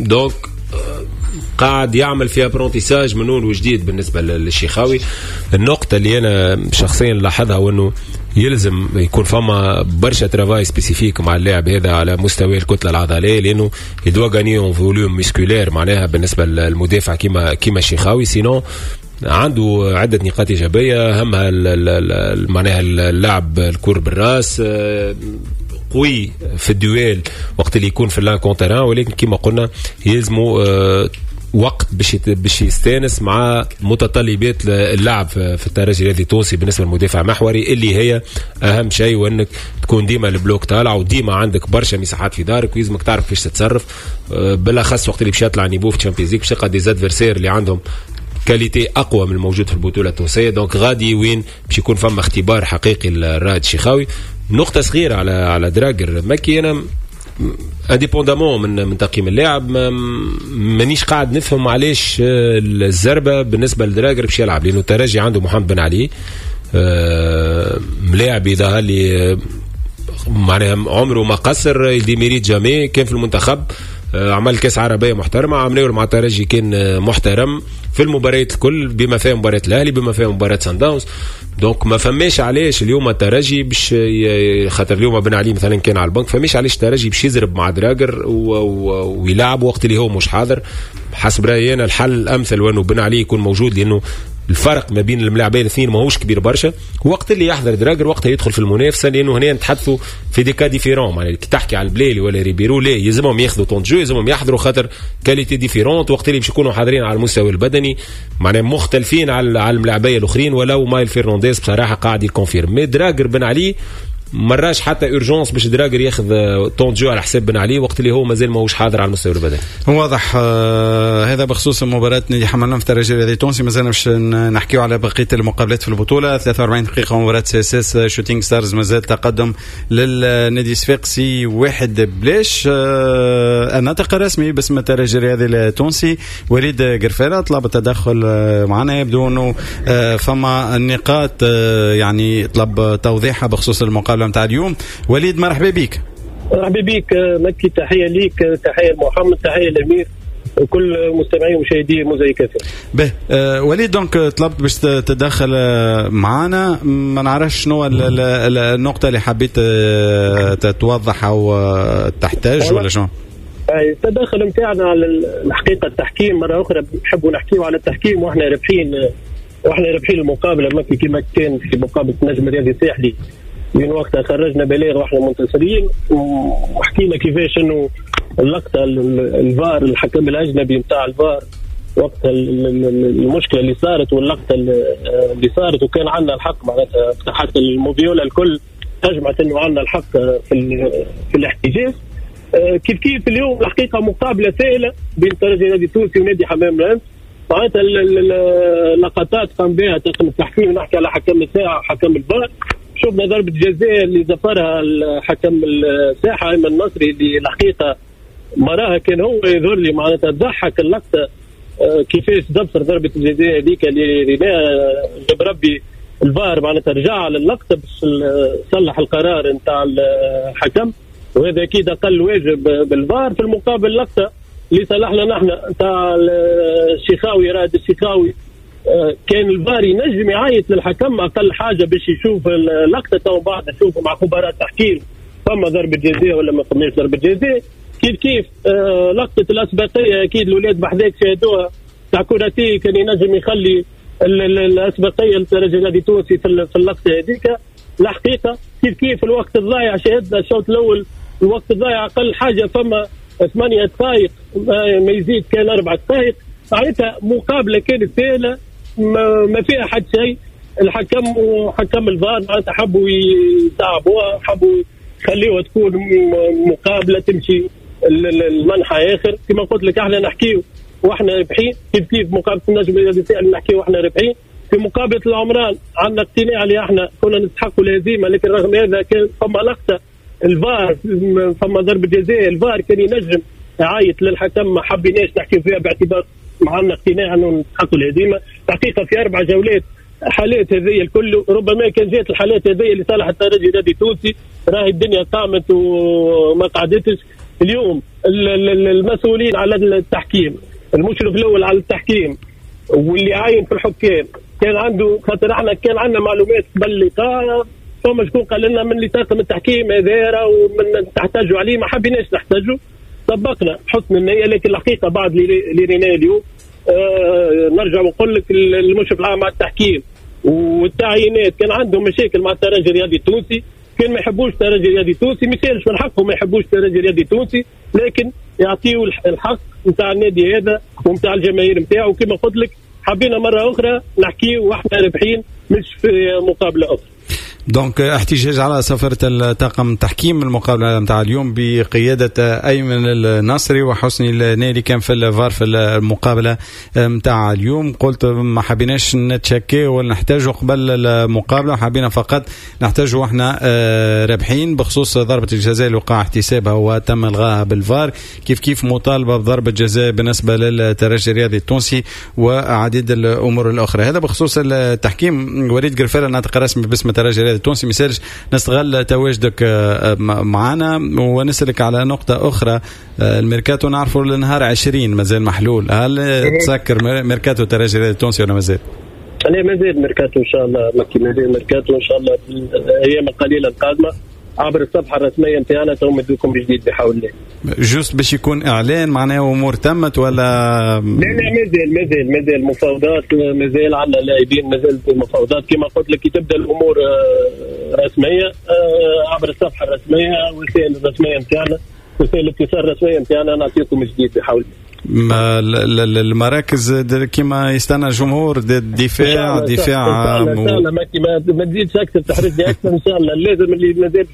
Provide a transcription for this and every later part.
donc قاعد يعمل في apprentissage من اول وجديد بالنسبة للشيخاوي. النقطة اللي انا شخصيا لاحظها هو انه يلزم يكون فما برشا travail spécifique مع اللاعب هذا على مستوى الكتلة العضلية، لانه il doit gagner en volume musculaire معناها بالنسبة للمدافع كيما الشيخاوي. sinon عنده عده نقاط ايجابية، اهمها معناها اللعب الكور بالراس، قوي في ال duel وقت اللي يكون في l'un contre un، ولكن كما قلنا يلزموا وقت باش يستانس مع متطلبات اللعب في الترجي الرياضي التونسي بالنسبة للمدافع محوري، اللي هي اهم شيء، وانك تكون ديما ال bloc طالع وديما عندك برشا مساحات في دارك ويلزمك تعرف كيفاش تتصرف، بالاخص وقت اللي باش يطلع niveau في Champions League، باش تلقى des adversaires اللي عندهم qualité اقوى من الموجود في البطولة التونسيه. donc غادي وين باش يكون فما اختبار حقيقي للرائد الشيخاوي. نقطة صغيرة على دراجر مكي، انا indépendamment من تقييم اللاعب مانيش قاعد نفهم علاش الزربه بالنسبة لدراجر باش يلعب، لانه الترجي عنده محمد بن علي، ملاعب يظهر لي معناها عمره ما قصر، il démérite jamais، كان في المنتخب عمل كاس عربية محترمه، عمل مع الترجي كان محترم في المباريات الكل، بما فيها مباراة الاهلي، بما فيها مباراة سان داونز. donc ما فماش علاش اليوم الترجي باش، خاطر اليوم بن علي مثلا كان على البنك، فماش علاش الترجي باش يزرب مع دراجر ويلعب وقت اللي هو مش حاضر. حسب رايي انا الحل الامثل وانه بن علي يكون موجود، لانه الفرق ما بين الملاعبين الاثنين ماهوش كبير برشا. وقت اللي يحضر دراجر وقتها يدخل في المنافسه، لانه هنا نتحدثوا في des cas différents، معناها كي تحكي على البليلي ولا ريبيرو لا يلزمهم ياخذوا temps de jeu، يلزمهم يحضروا خاطر qualité différente، وقت اللي باش يكونوا حاضرين على المستوى البدني معناها مختلفين على الملاعبيه الاخرين. ولو مايل فرنانديز بصراحة قاعد ي confirme، mais دراجر بن علي مراش حتى urgence باش دراجر ياخذ temps de jeu على حساب بن علي وقت اللي هو مازال ماهوش حاضر على المستوى البدني. واضح. هذا بخصوص مباراة نادي حمام الأنف الترجي الرياضي التونسي. مازلنا باش نحكيو على بقية المقابلات في البطولة. 43 دقيقة مباراة CSS شوتينغ ستارز، مازال تقدم للنادي الصفاقسي 1-0. الناطق الرسمي باسم الترجي الرياضي التونسي وليد قرفالة طلب التدخل معنا، يبدو انه فما نقاط يعني طلب توضيحها بخصوص المقابلة نتاع اليوم. وليد مرحبا بك. مرحبا بك مكي، تحية ليك، تحية لمحمد، تحية لامير وكل مستمعي ومشاهدي موزايك FM. به وليد، donc طلبت باش تتدخل معنا، ما نعرفش شنو النقطة اللي حبيت توضح او تحتاج ولا شنو؟ التدخل نتاعنا على الحقيقة التحكيم، مرة اخرى نحبوا نحكيو على التحكيم واحنا رابحين المقابلة مكي، كما كان في مقابله النجم الرياضي الساحلي من وقتها خرجنا بلاغ واحنا منتصرين، وحكينا كيفاش انه اللقطة الفار، الحكم الاجنبي نتاع الفار وقتها المشكلة اللي صارت واللقطه اللي صارت، وكان عندنا الحق، معناتها حتى الموفيولا الكل اجمعت انه عندنا الحق في الاحتجاج. كيف كيف اليوم الحقيقة مقابله سهلة بين الترجي النادي التونسي ونادي حمام الانف، معناتها اللقطات قام بها طاقم التحكيم، نحكي على حكم الساحة وحكم الفار. شفنا ضربه جزاء اللي زفرها الحكم الساحة ايمن النصري، اللي الحقيقة مراها كان هو يظهر لي، معناتها تضحك اللقطة كيفاش زفر ضربه الجزاء هذيك اللي ريناها. جاب ربي الفار معناتها رجع على اللقطة باش صلح القرار نتاع الحكم، وهذا اكيد اقل واجب بالفار. في المقابل لقطة اللي صلحنا نحن نتاع الشيخاوي، رائد الشيخاوي، كان الفار ينجم يعيط للحكم اقل حاجة باش يشوف اللقطة، تو بعد نشوفوا مع خبراء التحكيم فما ضربه جزاء ولا ما فماش ضربه جزاء. كيف كيف لقطة الاسبقيه، اكيد الاولاد بحذاك شاهدوها، تاع كوناتي، كان ينجم يخلي الاسبقيه للترجي النادي التونسي في اللقطة هذيك. الحقيقة كيف كيف الوقت الضايع، شاهدنا الشوط الاول الوقت الضايع اقل حاجة فما 8 دقائق، ما يزيد كان 4 دقائق. معناتها مقابله كانت سهلة ما فيها حد شيء. الحكم وحكم الفار معناتها حبوا يصعبوها، حبوا يخليوها تكون مقابله تمشي المنحى اخر. كما قلت لك احنا نحكيو واحنا رابحين، كيف كيف مقابله النجم الرياضي الساحلي نحكيو واحنا رابحين. في مقابله العمران عندنا اقتناع اللي احنا كنا نستحقوا الهزيمه، لكن رغم هذا كان فما لقطة الفار، فما ضربه جزاء، الفار كان ينجم يعيط للحكم، ما حبيناش نحكي فيها باعتبار معنا اقتناع انه نستحقوا الهزيمه. حقيقة في اربع جولات حالات هذه الكل، ربما كان جات الحالات هذه لصالح الترجي النادي التونسي راهي الدنيا قامت وما قعدتش. اليوم المسؤولين على التحكيم، المشرف الاول على التحكيم واللي عاين في الحكام كان عنده، خاطر احنا كان عندنا معلومات قبل اللقاء، فما شكون قال لنا من اللي طاقم التحكيم هذا ومن تحتاجوا عليه، ما حبيناش نحتاجوا، طبقنا حسن النية. لكن الحقيقة بعد اللي ريناه اليوم نرجع ونقول لك المشرف العام على التحكيم والتعيينات كان عندهم مشاكل مع الترجي الرياضي التونسي، كان ما يحبوش الترجي الرياضي التونسي، ما يسالش من حقهم ما يحبوش الترجي الرياضي التونسي، لكن يعطيوا الحق نتاع النادي هذا ونتاع الجماهير نتاعو. كما قلت لك حبينا مرة اخرى نحكي واحنا رابحين مش في مقابله اخرى. donc احتجاج على سفرة الطاقم التحكيم المقابلة نتاع اليوم بقيادة أيمن النصري وحسني النيلي كان في الفار في المقابلة نتاع اليوم. قلت ما حبيناش نتشكي ولا نحتاجوا قبل المقابلة، حبينا فقط نحتاجوا واحنا رابحين. بخصوص ضربة الجزاء اللي وقع احتسابها وتم الغاها بالفار، كيف كيف مطالبة بضربة جزاء بالنسبة للترجي الرياضي التونسي وعديد الأمور الأخرى. هذا بخصوص التحكيم. وليد قرفالة الناطق الرسمي باسم الترجي الرياضي التونسي، مثالش نستغل تواجدك معنا ونسألك على نقطة أخرى. الميركاتو نعرفه لنهار 20 مازال محلول، هل تسكر ميركاتو الترجي الرياضي التونسي ولا مازال؟ لا مازال ميركاتو إن شاء الله، مازال ميركاتو إن شاء الله في الأيام القليلة القادمة عبر الصفحة الرسمية نتاعنا تو ندوكم بجديد بحول الله. juste باش يكون إعلان معناه أمور تمت ولا؟ لا لا مازال مازال مازال مفاوضات، مازال عندنا لاعبين، مازال المفاوضات كما قلت لك تبدا الأمور رسمية عبر الصفحة الرسمية والوسائل الرسمية نتاعنا، وسائل الاتصال الرسمية نتاعنا نعطيكم جديد بحول الله. المراكز كما يستنى الجمهور دفاع دفاع ان شاء الله ما تزيدش اكثر تحرجني اكثر ان شاء الله. لازم اللي مازال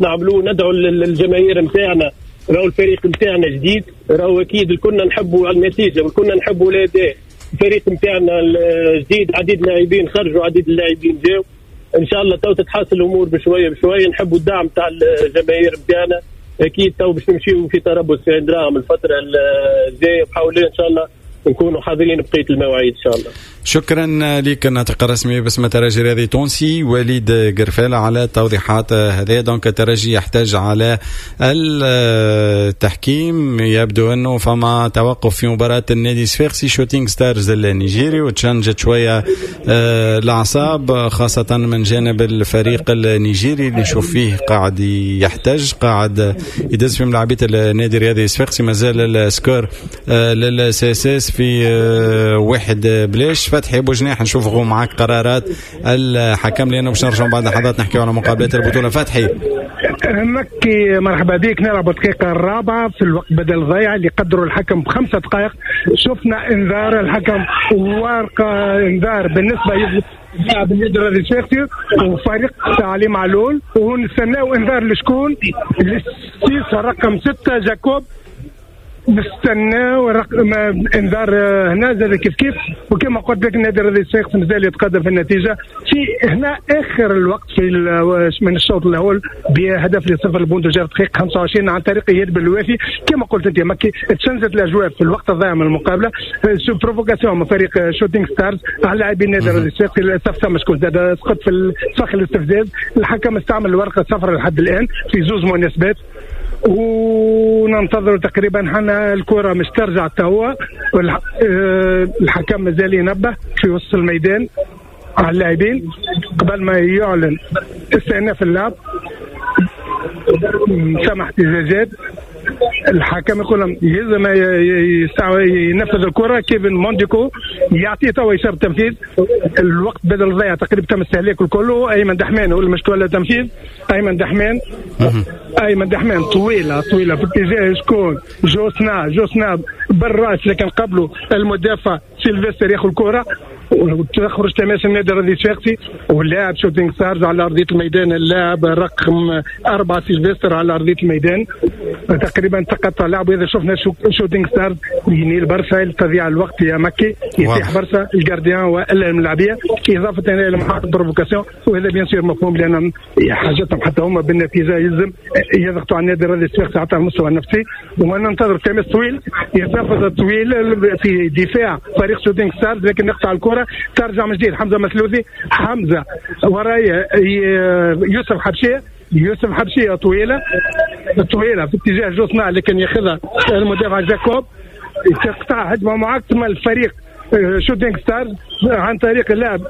نعملوه ندعو للجماهير نتاعنا، راهو الفريق نتاعنا جديد، راهو اكيد كنا نحبوا النتيجة وكنا نحبوا الاداء. الفريق نتاعنا الجديد عديد اللاعبين خرجوا، عديد اللاعبين جاوا، ان شاء الله تو تتحسن الامور بشوية بشوية. نحبوا الدعم تاع الجماهير نتاعنا، اكيد تو باش نمشيو في تربص في دراهم الفترة الجاية بحاول ان شاء الله نكونوا حاضرين بقية المواعيد ان شاء الله. شكرا لك الناطق الرسمي باسم الترجي الرياضي التونسي وليد قرفالة على التوضيحات هذه. donc الترجي يحتاج على التحكيم، يبدو انه فما توقف في مباراة النادي صفاقسي شوتينغ ستارز النيجيري وتشنجت شوية الاعصاب خاصة من جانب الفريق النيجيري اللي نشوف فيه قاعد يحتج، قاعد يدز في ملاعبيه النادي الرياضي صفاقسي. مازال ال score لل CSS في 1-0. فتحي بوجناح نشوفوا معاك قرارات الحكم لانه باش نرجعوا بعد لحظات نحكيو على مقابلات البطولة. فتحي مكي مرحبا بك. نلعب الدقيقة الرابعة في الوقت بدل ضيع اللي قدروا الحكم ب5 دقائق. شفنا انذار الحكم وورقة انذار بالنسبة لاعب النادي الرياضي الصفاقسي وفريق علي معلول، ونستناو انذار لشكون؟ للسيس رقم 6 جاكوب. نستناو رقم انذار هنا زاد كيف كيف. وكما قلت لك النادي الرياضي الصفاقسي مازال يتقدم في النتيجة في هنا اخر الوقت في من الشوط الاول بهدف لصفر البوندو جاب دقيقة 25 عن طريق اياد بالوافي. كما قلت انت مكي تشنجت الاجواء في الوقت الضائع من المقابلة، sous provocation من فريق شوتينغ ستارز على لاعبين النادي الرياضي الصفاقسي. للاسف ثم شكون زاد سقط في فخ الاستفزاز. الحكم استعمل الورقة الصفراء لحد الان في زوز مناسبات، وننتظر تقريبا حنا الكره مش ترجع توا. الحكم مازال ينبه في وسط الميدان على اللاعبين قبل ما يعلن استئناف اللعب. سمح احتجاجات، الحكم يقول لهم يلزم ينفذ الكره. كيفن مونديكو يعطيه توا اشارة تنفيذ. الوقت بدل ضيع تقريبا تم استهلاكه الكل. ايمن دحمان هو المشكل التنفيذ. ايمن دحمان، ايمن دحمان طويلة طويلة في اتجاه شكون؟ جوسنا بالراس، لكن قبله المدافع سيلفستر ياخذ الكره وتخرج تماس النادي الرياضي الصفاقسي. واللاعب شوتينغ ستارز على ارضية الميدان، اللاعب رقم 4 سيلفستر على ارضية الميدان تقريبا تقطع لعبه. اذا شفنا شوتينغ ستارز ينيل برشا تضيع الوقت يا مكي، يطيح برشا ال gardien والا الملاعبيه، اضافه الى محطة provocation. وهذا bien sûr مفهوم لان حاجتهم حتى هما بالنتيجة يلزم يضغطوا على النادي الرياضي الصفاقسي حتى على المستوى النفسي. وننتظر تماس طويل، يتنفذ طويل في دفاع فريق شوتينغ ستارز، لكن نقطع الكره ترجع من جديد. حمزة مسلوذي، حمزة ورايا يوسف حبشيه، يوسف حبشيه طويلة طويلة في اتجاه جوسنا، لكن ياخذها المدافع جاكوب، تقطع هجمة معاكسة الفريق شوتينغ ستارز عن طريق اللاعب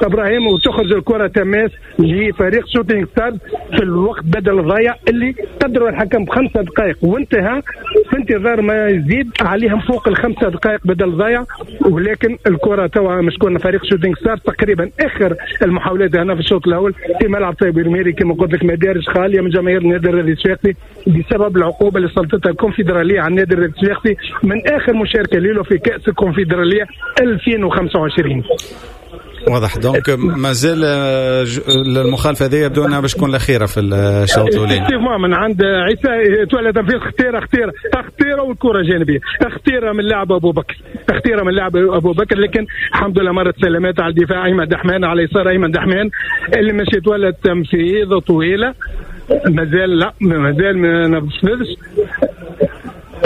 ابراهيم وتخرج الكره تماس لفريق شوتينغ ستارز في الوقت بدل الضيع اللي قدروا الحكم ب5 دقائق وانتهى، في انتظار ما يزيد عليهم فوق ال5 دقائق بدل الضيع، ولكن الكره توا مشكون فريق شوتينغ ستارز. تقريبا اخر المحاولات هنا في الشوط الاول في ملعب طيب الميري كما قلت لك، مدارج خالية من جماهير النادي الرياضي الصفاقسي بسبب العقوبة اللي سلطتها الكونفدراليه على النادي الرياضي الصفاقسي من اخر مشاركة له في كاس الكونفدراليه 2025. واضح. donc مازال المخالفة هذه يبدو انها باش تكون الاخيرة في الشوط الاولاني. من عند عيسى تولى تنفيذ خطيرة خطيرة خطيرة والكره جانبيه، خطيرة من لاعب ابو بكر، خطيرة من لاعب ابو بكر، لكن الحمد لله مرت سلامات على الدفاع. ايمن دحمان على يسار، ايمن دحمان اللي مشي تولى التنفيذ طويلة، مازال لا مازال ما نفذش.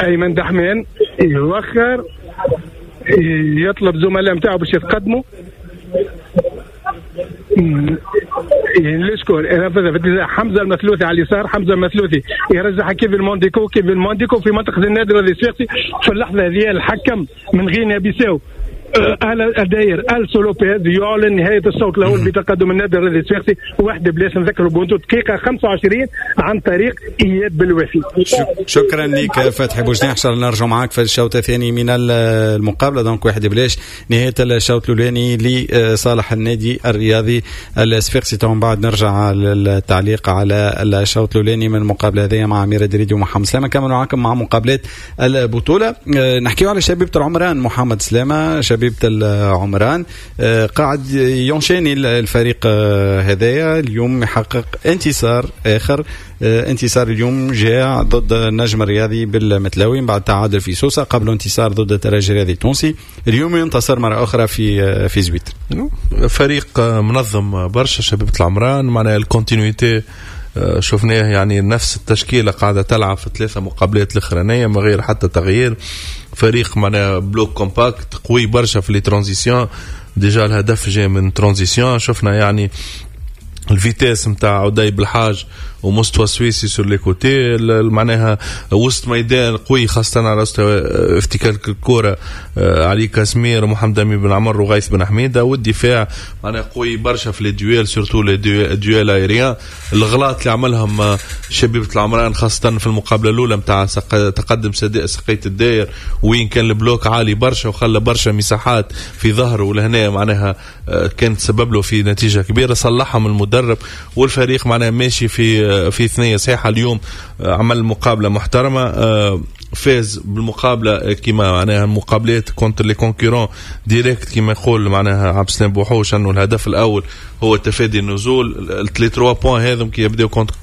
ايمن دحمان يوخر، يطلب زملاء نتاعو باش يتقدموا. لشكون نفذها؟ حمزة المثلوثي على اليسار، حمزة المثلوثي يرجعها كيفن مونديكو، كيفن مونديكو في منطقة النادي الرياضي الصفاقسي. في اللحظة هذه الحكم من غينيا بيساو داير ألسو لوبيز يعلن نهاية الشوط الأول بتقدم النادي الرياضي الصفاقسي 1-0. نذكروا بونتو دقيقة 25 عن طريق إياد بالوافي. شكرا لك فتحي بوجناح، ان شاء الله نرجع معاك في الشوط الثاني من المقابلة. donc 1-0 نهاية الشوط الأولاني لصالح النادي الرياضي الصفاقسي. من بعد نرجع للتعليق على الشوط الأولاني من المقابلة هذه مع أميرة دريدي ومحمد سلامة. كملوا معاكم مع مقابلات البطولة. نحكيو على شبيبة العمران. محمد سلامة، شبيبة العمران قاعد ينشاني الفريق هذايا اليوم، يحقق انتصار آخر. انتصار اليوم جاء ضد النجم الرياضي بالمتلاوي بعد تعادل في سوسة، قبل انتصار ضد الترجي الرياضي التونسي. اليوم ينتصر مرة أخرى في زويت. فريق منظم برشا شبيبة العمران، معناها ال continuité شفناه، يعني نفس التشكيلة قاعدة تلعب في 3 مقابلات الأخرانية من غير حتى تغيير. فريق معناها bloc compact قوي برشا في les transitions، déjà الهدف جاي من transition. شفنا يعني ال vitesse نتاع عدي بالحاج ومستوى سويسي sur les côtés، معناها وسط ميدان قوي خاصة على مستوى افتكاك الكرة، علي كاسمير ومحمد أمين بن عمر وغيث بن حميدة. والدفاع معناها قوي برشا في les duels، surtout les duels aériens. الغلاط اللي عملهم شبيبة العمران خاصة في المقابلة الأولى نتاع تقدم سقية الداير، وين كان ال bloc عالي برشا وخلى برشا مساحات في ظهره، ولهنا معناها كانت سبب له في نتيجة كبيرة. صلحهم المدرب والفريق معناها ماشي في ثنية صحيحة. اليوم عمل مقابلة محترمة، فاز بالمقابلة كما معناها المقابلات contre les concurrents directs كما يقول معناها عبد السلام بوحوش، انه الهدف الاول هو تفادي النزول. ال 3 points هذم كي يبداو contre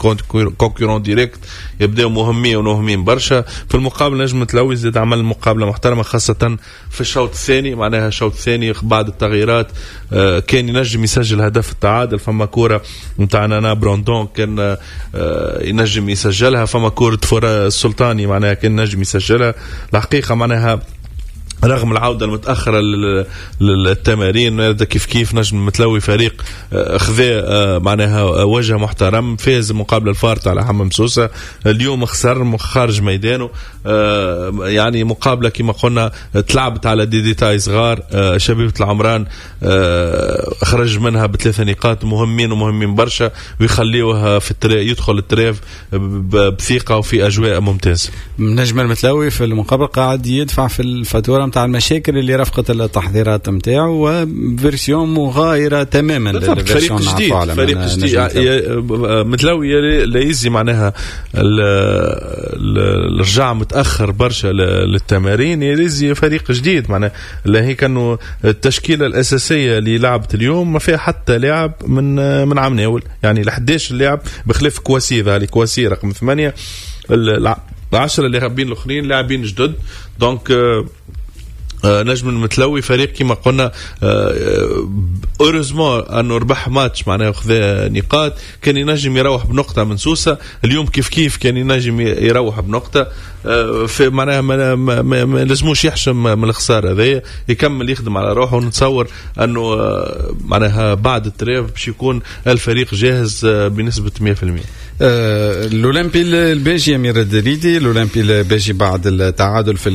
concurrent direct يبداو مهمين ومهمين برشا. في المقابلة نجم تلوي زاد عمل مقابله محترمه خاصة في الشوط الثاني، معناها الشوط الثاني بعد التغييرات كان ينجم يسجل هدف التعادل. فما كورة نتاع نانا براندون كان ينجم يسجلها، فما كورة فرا السلطاني معناها كان ينجم يسجلها. الحقيقة معناها رغم العودة المتأخرة للتمارين كيف كيف نجم متلوي فريق خذا معناها وجه محترم، فاز مقابلة الفارط على حمام سوسة، اليوم خسر خارج ميدانه. يعني مقابلة كما قلنا تلعبت على des détails صغار. شبيبة العمران خرج منها ب3 نقاط مهمين ومهمين برشا، ويخليوها في يدخل ال trêve بثقة وفي أجواء ممتازة. نجم المتلوي في المقابلة قاعد يدفع في الفاتورة متاع المشاكل اللي رافقت التحضيرات نتاعو، و version مغايرة تماما لل version. جديد، فريق جديد متلوي لا يزي معناها الرجاع متاخر برشا للتمارين، يزي فريق جديد معناها. لا هي كانوا التشكيلة الاساسية اللي لعبت اليوم ما فيها حتى لاعب من عام ناول، يعني ال 11 لاعب بخلاف كواسي، ذا كواسي رقم 8، 10 اللاعبين الاخرين لاعبين جدد. donc نجم المتلوي فريق كما قلنا، heureusement انه ربح ماتش، معناها خذا نقاط. كان ينجم يروح بنقطة من سوسه، اليوم كيف كيف كان ينجم يروح بنقطه. في معناها ما لازموش يحشم من الخسارة هذايا، يكمل يخدم على روحه، ونتصور انه معناها بعد ال trêve باش يكون الفريق جاهز بنسبة 100%. الاولمبي الباجي، امير الدريدي، الاولمبي الباجي بعد التعادل في